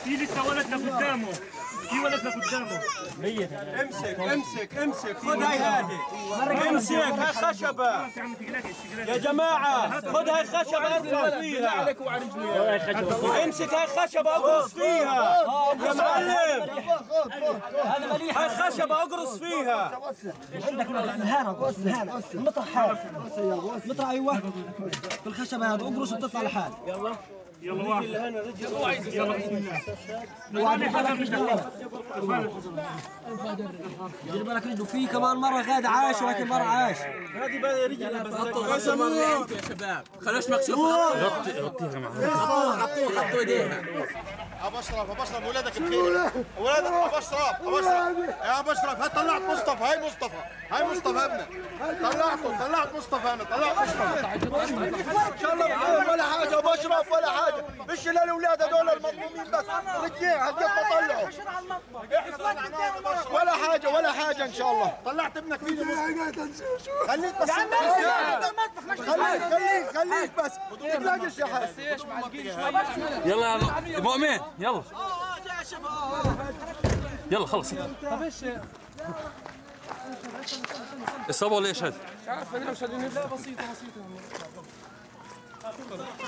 في لسه ولد لقدامه، في ولد لقدامه. امسك خذ هاي هذه، امسك هاي خشبة يا جماعة، خذ هاي خشبة ارفع فيها، امسك هاي خشبة اقرص فيها يا معلم، هاي خشبة اقرص فيها. عندك الهانة المطرح هذا، المطرح ايوه في الخشبة هذا اقرص وتطلع لحال. يلا واحد يلا بسم الله. دير بالك رجله في كمان مرة غاد عاش ولكن مرة عاش. هذه بقى رجلها بس يا شباب خلوش مكشوفة. غطيها معها. حطوا ايديها. ابو اشرف ولادك بخير، ولادك ابو اشرف يا ابو اشرف، هات طلعت مصطفى، هاي مصطفى ابنك، طلعت مصطفى، انا طلعت مصطفى ان شاء الله بخير ولا حاجة ابو اشرف ولا حاجة، مش للاولاد هذول المظلومين بس، رجعين هالقد ما طلعوا ولا حاجة ان شاء الله. طلعت ابنك فيدي خليك بس خليك بس تلاقيش يا حاج. يلا يا مؤمن يلا يلا خلص. طب ايش الصبا ولا ايش هذا؟ مش عارف انا مش هذه بسيطه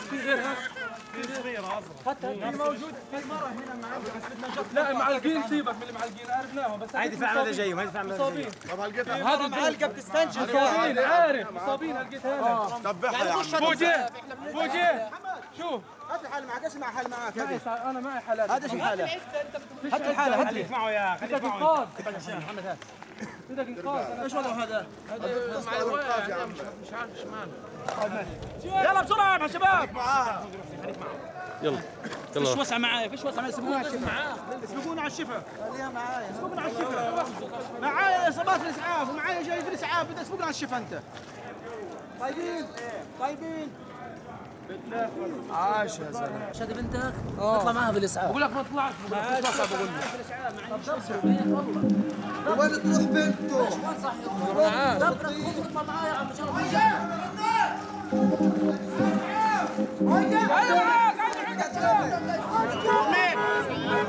في غيرها حتى موجود في مره هنا معلقين. لا معلقين سيبك من المعلقين عرفناهم بس هيدي فعلا هذا جاي وهيدي فعلا مصابين. طب هلقيتها هذا المعلقه بتستنشق مصابين عارف مصابين هلقيتها هنا ذبحها يا عم. فوجي شوف هات الحالة معك، اسمع حالة معك. انا معي حالات. هذا شو الحالة؟ هات الحالة هات لي اسمعوا يا بدك انقاذ محمد هات بدك انقاذ. ايش وضعه هذا؟ هذا مع الوقت يا عم مش عارف ايش ماله. يلا بسرعة يا شباب معاها. يلا فيش وسع معايا يسبقونا على الشفا. يسبقونا على الشفا. خليها معايا. يسبقونا على الشفا. معايا اصابات في الاسعاف ومعايا جاي في الاسعاف، بدك تسبقنا على الشفا انت. طيبين عاش يا زلمه. شادي بنتك اطلع معها بالاسعاف. بقول لك ما طلعت بقول لك وين تروح بنته؟ وين صح اطلع معايا يا عم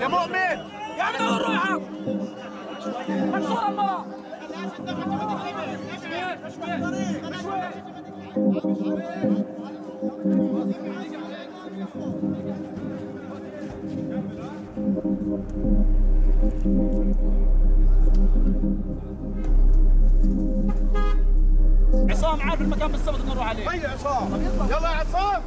يا مؤمن يا عم دور روحك مكسوره المرأة. عصام عارف المكان بالضبط اللي نروح عليه. هيا عصام، يلا يا عصام.